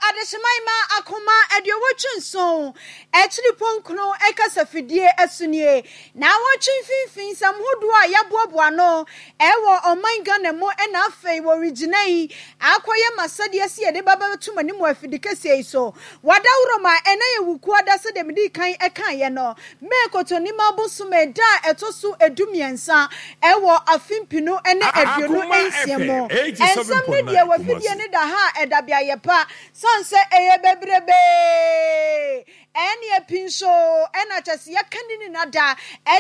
Adehyeman ma akoma 87 akyiripɔ nkron kasafidie so nie. Naawɔtwe mfimfini nsɛm hodoɔ a yɛaboaboa ano wɔ ɔman Ghana mu na afei wɔregyina yi akɔyɛ m'asɛdeɛ sɛ yɛde ba bɛto mo anim wɔ afidikɛseɛ yi so. W'adaworo ma ɛnɛ yɛ Wukuada sɛdeɛ medii kan kaeɛ no, May Kɔtɔnima bosome da a ɛtɔ so 13 wɔ afe mpenu ne aduonu Akoma nsia mu. FM Nsɛm no deɛ 87.9 wɔ afidie Kumasi. no da ha a ɛda beaeɛ pa sane sɛ ɛyɛ bebrebee. Ɛneɛ pi nso na kyɛ sɛ yɛka ne nyina da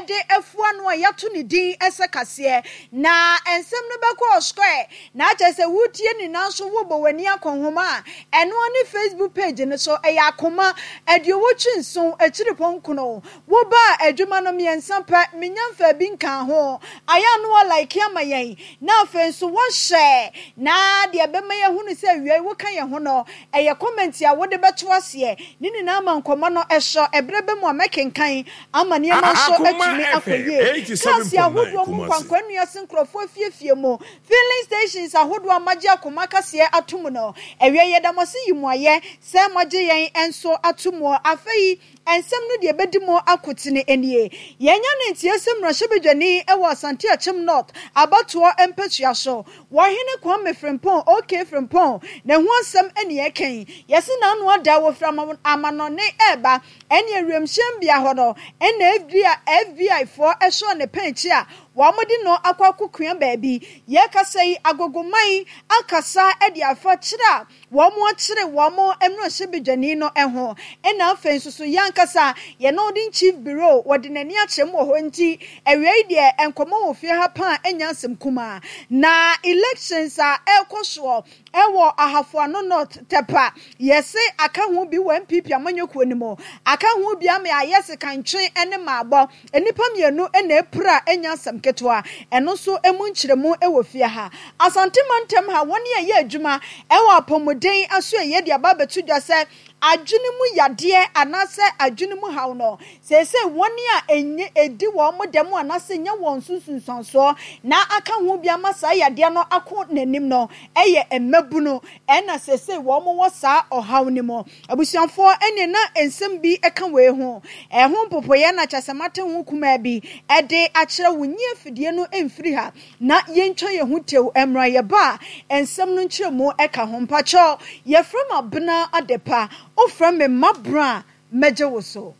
de afua no a yɛato ne din sɛ kaseɛ. Na nsɛm no bɛkɔ square na kyɛ sɛ wotie nyina nso wobɔ w'ani akɔ nhoma a ɛno ara ne Facebook page no so ɛyɛ akoma 87 akyiripɔ nkono. Wobaa adwuma no mmiɛnsa pɛ menya mfaa bi nkaa ho. Ayɛ a na wa like ama yɛn na afei nso woahyɛ na deɛ ɛbɛma yɛahunu sɛ awiei woka yɛn ho no Ɛyɛ comment a wode bɛto aseɛ. Ne nyinaa ma nkɔmmɔ no sɔ. Ɛberɛ bɛ mu a mɛkenkan ama nneɛma nso Akoma atumi akɔ FM yie. Cars 87.9 ahodoɔ mu Kumasi. nkwankwa nnua se nkurɔfoɔ afiefie mu, filling stations ahodoɔ a moagye akoma kaseɛ ato mu no. Awiei yɛda mo ase yi mo ayɛ sɛ moagye yɛn nso ato mu. Afei nsɛm no deɛ ɛbɛdi mu akotene nie. Yɛanya no nteɛ sɛ mmarahyɛbadwani wɔ Asante Akyem North abatoɔ mpasua so Wɔhene Kwame Frimpong, OK Frimpong, ne ho asɛm ne yɛreka yi. Yɛse n'ano ada a wɔfiri amanɔne reba ɛne awiemhyɛn bea hɔ no ɛna FBI foɔ sɔɔ ne pɛnkye a wɔde no akɔ akɔkua baabi. Yɛrekasa yi Agogoman akasa de afa kyerɛ a Wɔakyere wɔn mmarahyɛbadwani no ho. Ɛna afei nso so yɛn ankasa yɛn Northern Chief Bureau wɔde n'ani akyerɛ mu wɔ hɔ nti awiei deɛ nkɔmmɔ wɔ fie ha paa ɛnyɛ asɛm kumaa. Na elections a ɛrekɔ soɔ ɛwɔ Ahafo Ano North Tɛpa yɛse aka ho bi wɔ NPP amanyɔkuo no mu aka ho bi ama ayɛ sekantwe ne maabɔ. Nnipa mmienu na apira a ɛnyɛ asɛm ketewa. Ɛno nso emu nkyerɛmu wɔ fie ha. Asante mantam ha, wɔn a ɛyɛ adwuma wɔ apɔmuden asoɛeɛ de aba abɛto dwa sɛ adwene mu yadeɛ anaasɛ adwene mu haw no, seesei wɔn a ɛnyɛ ɛdi wɔn dɛm anaasɛ ɛnya wɔn so nsunsuansoɔ na aka ho bi ama saa yadeɛ no ako n'anim no yɛ mmabunu na seesei wɔn wɔ saa ɔhaw no mu. Abusuafoɔ ɛneɛ na nsɛm bi ka wei ho. Ɛho mpopoeɛ na kyɛsɛ mate ho kumaa bi de akyerɛ wo. Nyi afidie no mfiri ha na yɛntwa yɛn ho tew mmra yɛba a nsɛm no nkyerɛmu ka ho. Mpakyɛw yɛfrɛ me Abena Adepa, wofrɛ me Mabra a mɛgye wo so.